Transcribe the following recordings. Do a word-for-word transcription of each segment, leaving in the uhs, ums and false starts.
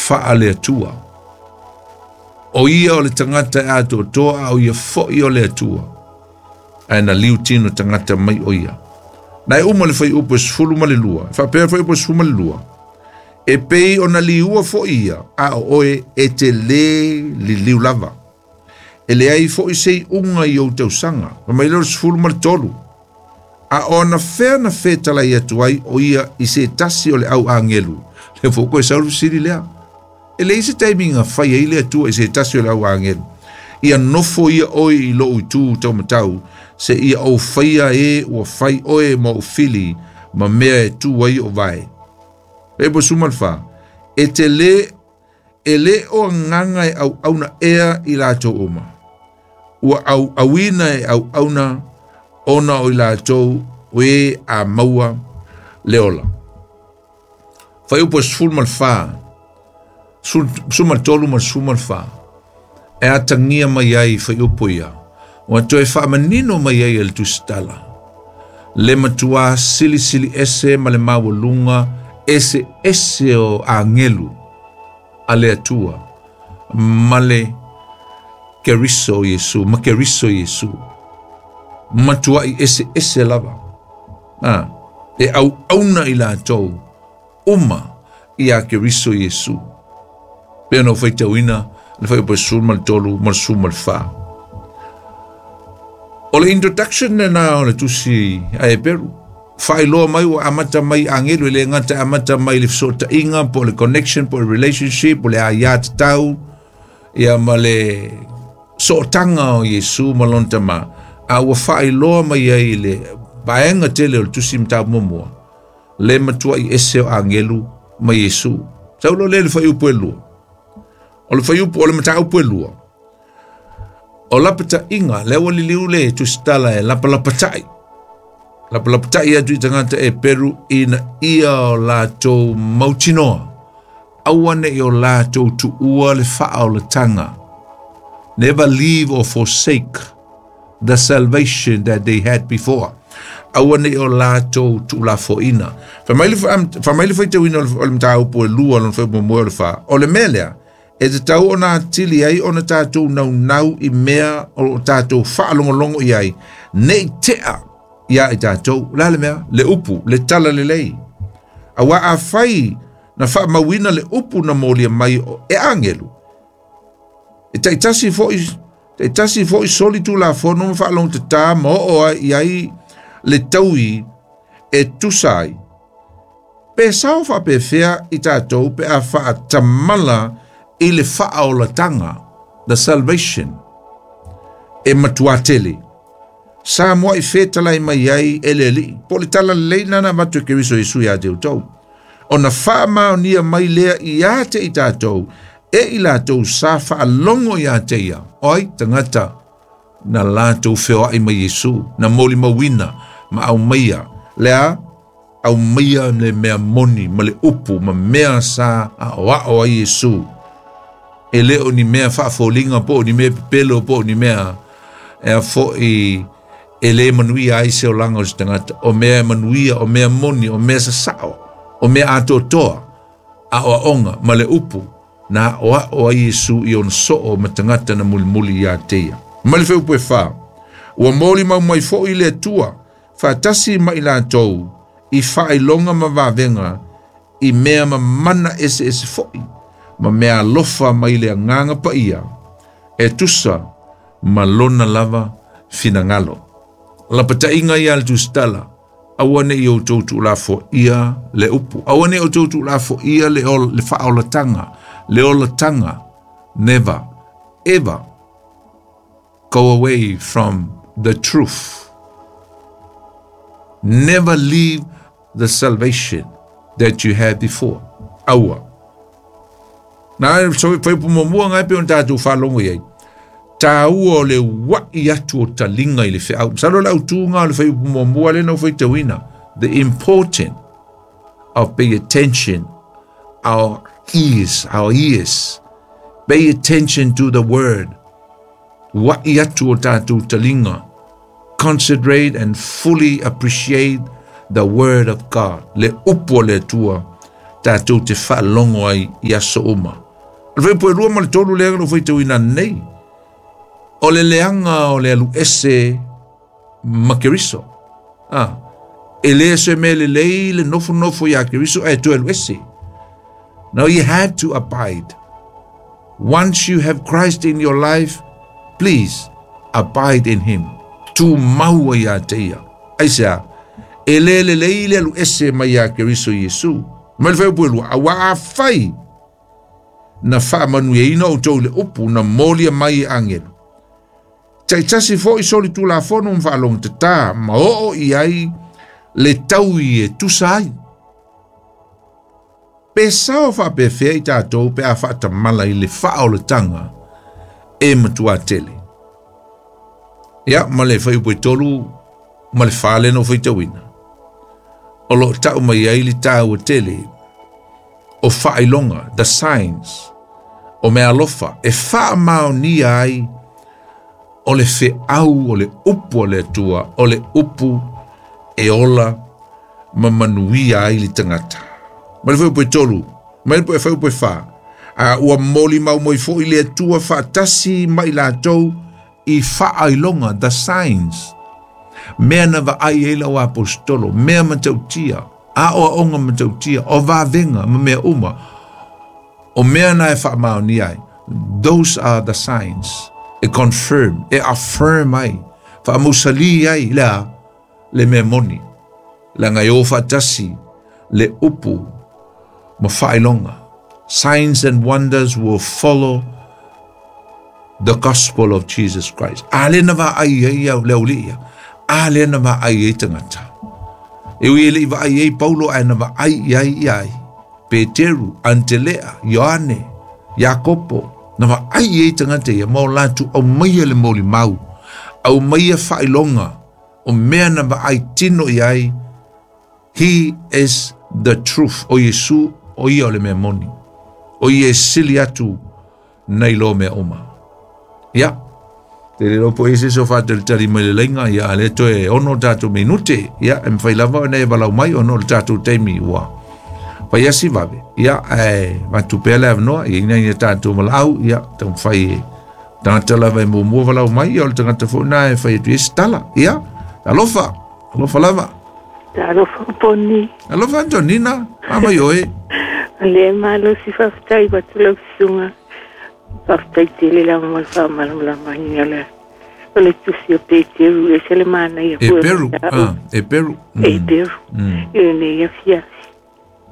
Faale Atua. O ia o le tagata e atoatoa a o ia fo'i o le Atua. Ae na liu tino tagata mai o ia. Na e uma le fuaiupu e sefulu ma le lua. E faapea le fuaiupu e sefulu ma le lua. E pei ona liua fo'i ia, a o oe e te lē liliu lava. E leai fo'i se iuga i ou tausaga. Fai mai lea o le sefulu ma le tolu. A o anafea na fetalai atu ai o ia i se tasi o le au agelu. Le fo'i koe sau le fesili lea. E leai se taimi na fai ai le Atua i se tasi o le au agelu. Ia nofo ia oe i lou itu taumatau, seia ou faia e ua fai oe ma ou fili ma mea e tu ai ou vae. Fuaiupu sefulu ma le fa, e te lē, e lē o agaga e auauna ea i latou uma. Ua auauina e auauna ona o i latou o e a maua le ola. Fuaiupu e sefulu ma le fa, sefulu ma le tolu ma le sefulu ma le fa, e atagia mai ai fuaiupu ia, ua toe faamanino mai ai e le tusitala. Le matuā silisili ese ma le maualuga ese ese o agelu a le Atua ma le Keriso Iesu, ma Keriso Iesu. Matuai ese ese lava. Ah, e auauna i latou uma ia Keriso Iesu. Pei ona ou faitauina le fuaiupu e sefulu ma le tolu ma le sefulu ma le fa. O le introduction lena o le tusi a Heperu. Faailoa mai ua amata mai agelu e le gata amata mai le fesootaiga po o le connection po o le relationship po o le aiā tatau ia ma le sootaga o Iesu ma lona Tamā. A ua faailoa mai ai le vaega tele o le tusi mataupu muamua le matuai ese o agelu ma Iesu. Sau loa lea i le fuaiupu e lua. O le fuaiupu o le mataupu e lua. O lapataiga, lea ua liliu le tusitala e lapalapatai. Lapalapatai atu i tagata Eperu ina ia o latou mautinoa. Aua ne'i o latou tuua le faaolataga. Never leave or forsake the salvation that they had before. Aua ne'i o latou tuulafoaina. Fai mai le faitauina o le mataupu e lua lona fuaiupu muamua o le fa. O le mea lea, e tatau ona atili ai ona tatou naunau i mea o lo o tatou faalogologo i ai, ne i tea ia i tatou. O le a le mea? Le upu, le tala lelei. Aua afai na faamauina le upu na molia mai e agelu, e taitasi fo'i, taitasi fo'i soli tulafono ma faalogotatā ma oo ai i ai le taui e tusa ai. Pe sao faapefea i tatou pe a faatamala i le faaolataga, the salvation, e matuā tele. Sa mua'i fetalai mai ai e le Alii, po o le tala lelei lena na avatu e Keriso Iesu ia te outou. Ona faamaonia mai lea ia te i tatou, e i latou sa faalogo ia te ia, o ai tagata na latou feoai ma Iesu, na molimauina ma aumaia, lea aumaia le mea moni ma le upu ma mea sa aoao ai Iesu. E le o ni mea faafoliga po o ni mea pepelo po o ni mea e a fo'i e le manuia ai se olaga o se tagata. O mea e manuia, o mea moni, o mea sasao, o mea atoatoa, aoaoga ma le upu na aoao ai Iesu i ona soo ma tagata na mulimuli ia te ia. Ma le fuaiupu e fa, ua molimau mai fo'i le Atua faatasi ma i latou i faailoga ma vavega i mea ma mana eseese fo'i ma mea alofa mai le Agaga Paia e tusa ma lona lava finagalo. Lapataiga ia le tusitala, aua ne'i outou tuulafoaia le upu, aua ne'i outou tuulafoaia le, le faaolataga, le olataga. Never, ever go away from the truth. Never leave the salvation that you had before. Aua. Na fuaiupu muamua ngai pe ona tatou faalogo i ai. Tāua o le ua'i atu o taliga i le feau. Masalo le autuga o le fuaiupu muamua lea na ou faitauina. The important of pay attention our ears, our ears. Pay attention to the word. Ua'i atu o tatou taliga. Concentrate and fully appreciate the word of God. Le upu o le Atua Tatou te faalogo ai i aso uma. O le fuaiupu e lua ma le tolu lea na ou faitauina nei. O le leaga o le aluese ma Keriso. Ah, e le se mea lelei le nofonofo iā Keriso ae toe aluese. Now you have to abide. Once you have Christ in your life, please abide in him. Tumau ai ia te ia. Aisea, e le lelei le aluese mai iā Keriso Iesu. Ma le fuaiupu e lua, auā afai na faamanuiaina outou i le upu na molia mai e agelu. Taitasi foʻi solitulafono ma faalogotatā ma oo i ai le taui e tusa ai. Pe sao faapefea i tatou pe a faatamala i le faaolataga e matuā tele. Ia ma le fuaiupu e tolu ma le fa lea na ou faitauina. O loo tau mai ai le taua tele o faailoga, the signs, o meaalofa e faamaonia ai o le feau o le upu a le Atua, o le upu e ola ma manuia ai le tagata. Ma le fuaiupu e tolu, ma le fuaiupu e fa, a ua molimau mai foʻi le Atua faatasi ma i latou i faailoga, the signs, mea na vaai ai lau aposetolo, mea matautia, aoaoga matautia, o vavega ma mea uma, o mea na e faamaonia ai. Those are the signs. E confirm, e affirm ai, faamausalī ai le a le mea moni. Leaga e o faatasi le upu ma faailoga. Signs and wonders will follow the gospel of Jesus Christ. A le na vaai ai au le aulii ia. A lea na vaai ai tagata. E ui e leʻi vaai ai Paulo ae na vaai i ai ia ai. Peteru, Antelea, Ioane, Iakopo, na vaai i ai tagata ia ma o latou aumaia le molimau, aumaia faailoga o mea na vaai tino i ai. He is the truth. O Iesu, o ia o le mea moni. O ia e sili atu nai lo mea uma. Ia, te le lopo i se so faatalitali mai le laina, ia a le toe ono tatou minute, ia, e mafai lava ona e valaau mai ona o le tatou taimi ua fai asi vave, ia, ae avatu pea le avanoa, ia ina ia tatou valaau, ia, taumafai e tagata lava e muamua valaau mai, ia o le tagata foi lena e fai atu i ai se tala, ia, alofa, alofa lava. Talofa Poni. Alofa Antonina, a mai oe. Le malosi faafetai atu lau susuga. Faafetai tele lava mo le faamalamalamaina o le o le tusi o Peteru e ese le manaia E foʻi o Peru, mataupu. ah, e Peru. E Mm, Peru. mm, I lenei afiafi.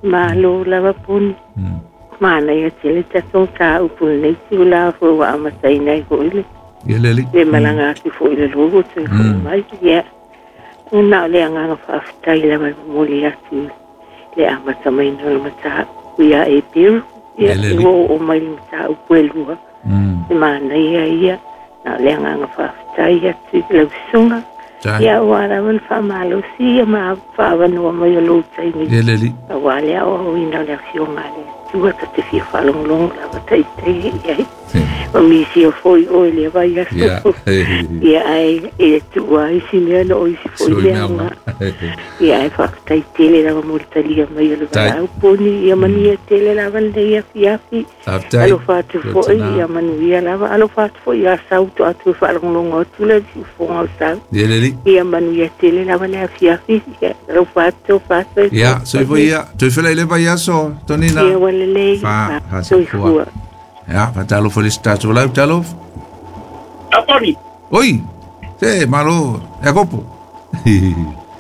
Malo lava Poni. mm. Manaia tele tatou mataupu lenei itulā foʻi ua amataina ai foʻi le Ia le alii. le Mm, malaga atu foʻi i le logo toe foʻi mm. mai. Ia, na o le agaga faafetai lava e momoli atu le amata maina o le mataupu ia e Peru. Ia Ia, le e alii. ua oo mai le mataupu e lua. Mm. Le manaia ia, na o le agaga faafetai atu i lau susuga. Tai. Ia, ua lava le faamalosi ia ma faavanoa mai o lou taimi. Ia le alii. Auā le aoaoina o le afioga a le Atua ta te fia faalogologo lava taitai i ai. Ma misia foʻi oe i lea vaiaso. Ia. Ia ae e tuua ai si mea na o isi foʻi Sui le mea uma. aoga. Ia ae faafetai tele lava mo le talia mai o le Tai. valaau poni. Ia manuia tele lava lenei afiafi. Faafetai. Alofa atu foʻi, Tuatina. ia manuia lava. Alofa atu foʻi ia sau to atu e faalogologo atu le siufoga o sau. Ia le alii. Ia manuia tele lava le afiafi. Ia alofa atu, alofa atu e Ia, soifua ia. Toe fela i le vaiaso, Tonina. Ia ua lelei. Fa, fa soifua. Soifua. Ia, faatalofa i le isi tatou valaau, talofa. Aponi, Oi, se, malo, Iakopo.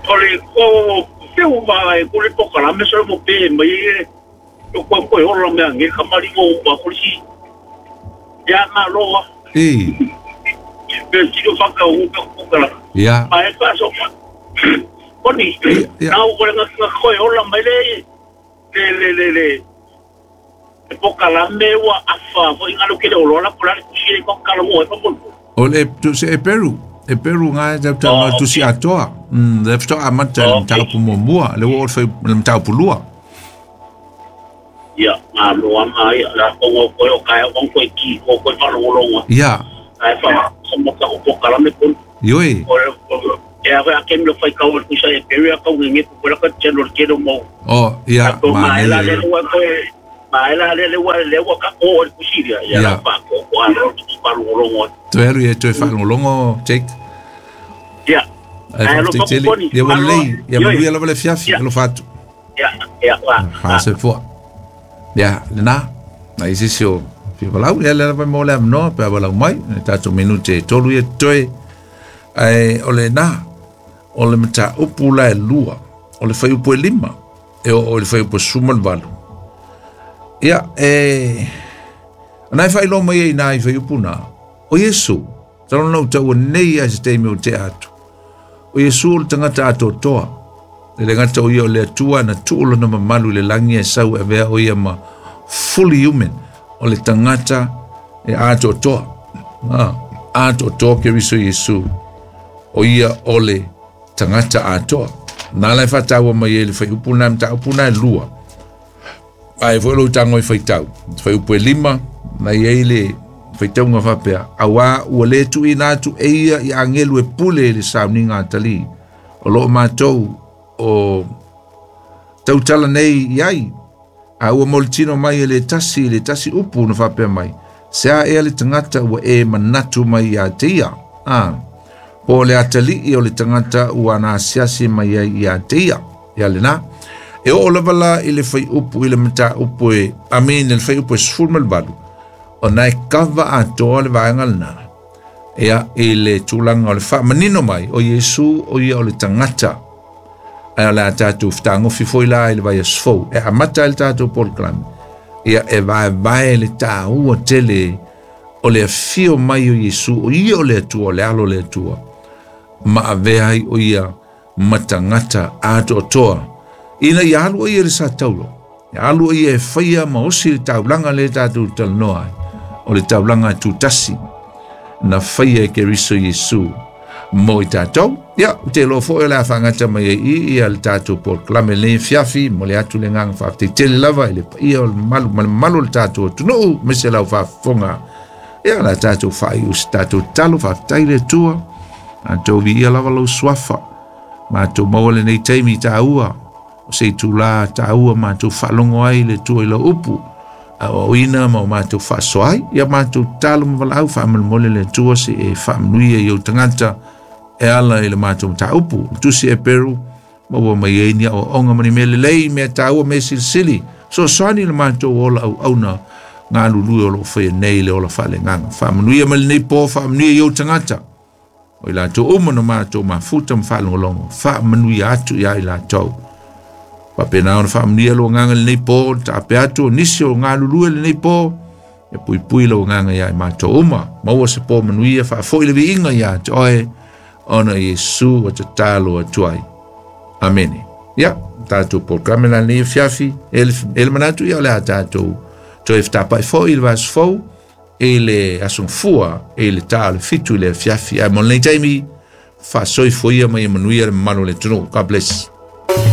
o le ko feu ma e kule pokalame so mo pe mai e o ko ko hola me ange kamari o ma polisi ya ma loa E, pe tiro faka o ko ko kala ia, ma e pa so poni Ia. na o ko nga nga ko hola mai le le le le le e pokalame ua afa fo inga lo kele o lola pola kusi ko kala mo e pa mo o le, tu se e Peru. E Peru ngai tau tau Oh, tu si atoa. Mm, le fito amata le Oh, mataupu muamua, le ua o le fai le mataupu lua. Ia, ma loa ma ia, la ko ko o kai o ko ki ko ko fa lo lo Ia, ai fa sa mo ka ko kala me pon ioi, o o E a ke mi fai kau ku sa e pe ya kau nge ku la ka chelo chelo mo. Oh ia ma ela le wa ko ma ela le le wa le wa ka o ku siria ya la pa ko ko a ro ki pa lo lo. Tu eru e tu fa lo longo Jake. Ya. Ai lo tele ya wa lei ya mo ya la le fiafi lo fatu. Ya ya wa. Ha se fo. Ya lena na isi sio fi valau ya le va mo le no pe valau mai ta tu minute tolu ye toe ai ole na o le mata upu la e lua o le fai upu e lima e o, o le fai upu e suma le valu ia e nai fai lo mai e nai fai upu na o Yesu talo nau tau nei a se teimi o te atu o Yesu o le tangata atotoa le le gata o ia o le atua na tuulo na mamalu le langi e sau e vea o ia ma fully human o le tangata e atotoa ah, atotoa ke riso Yesu o ia o le tangata atoa. Nā lai whataua mai e le whai upu nā mta upu nā lua. Ai foi lo tango i whaitau. Whai upu e lima, na i ei le whaitaunga whapea. Awa ua le tu i nā tu e ia i angelu e pule le sauninga atali. O loo mātou o tautala nei i ai. A ua molitino mai e le tasi, le tasi upu na whapea mai. Se a ea le tangata ua e manatu mai ia te ia. Ah. Po le atali i o le tangata ua na asiasi mai ai ia te ia. Ia le nā. E o lava la i le whai upu i le mata upu e, amen, le whai upu e sful malvalu. O nai kawa atoa le vaenga le nā. Ea i le tūlanga o le wha manino mai o Yesu o ia o le tangata. Ai o le a tātou whtangofi foi la i le vai asfou. E amata i le tātou polokalame. Ia e vae vae le tāua tele o le afio mai o Yesu o ia o le atua, o le alo le atua. Ma avea ai o ia matangata atoatoa. Ina ia alu o ia le sa taulo. Ia alu o ia e whaia ma osi le taulanga le tātou talanoa ai. O le taulanga e tūtasi. Na whaia e ke riso Yesu. Mo i tātou. Ia, te lo fo e le awhangata mai e i ia le tātou polokalame le fiafi. Mo le atu le nganga whaafte tele lava i le paia o le malu, malu, malu le tātou tunuu. Mese lau whaafonga. Ia la tātou whai o se tātou talo whaaftai le tua. Mātou vi ia lava lau swafa. Mātou maua le nei taimi tāua. O se i tūlā tāua mātou whaalongo ai le tua i lau upu. A o ina ma o mātou whaasoa ai. Ia mātou talo mawalau whaamalmole le tua se e whaamanuia i au tangata e ala i le mātou mata upu. Tusi e peru maua mai e ni o onga mani mea lelei mea tāua mea silisili. So soani le mātou ola au auna ngā lului o lo whaia nei le ola whaale nganga. Whaamanuia ma le nei pō whaamanuia i au tangata. O i lātou uma no mātou mafuta mwhaalongolongo. Whaamanuia atu ia i lātou. Wapena ona whaamanuia lo nganga le nei pō, ta ape atu o nisi o ngā lulue le nei pō, e pui pui lo nganga ia i mātou uma. Maua se pō manuia whaafoi le viinga ia te oe, ona Yesu o te talo atu ai. Amene. Ia, tātou polokalame la nei fiafi, ele manatu ia o le a tātou toe whatapai fo i le vas fo, e le asungfua, e le tā le fitu le fiafi. Ai mo nei taimi, whaasoi foia mai e manuia le mamalu le tunu. God bless.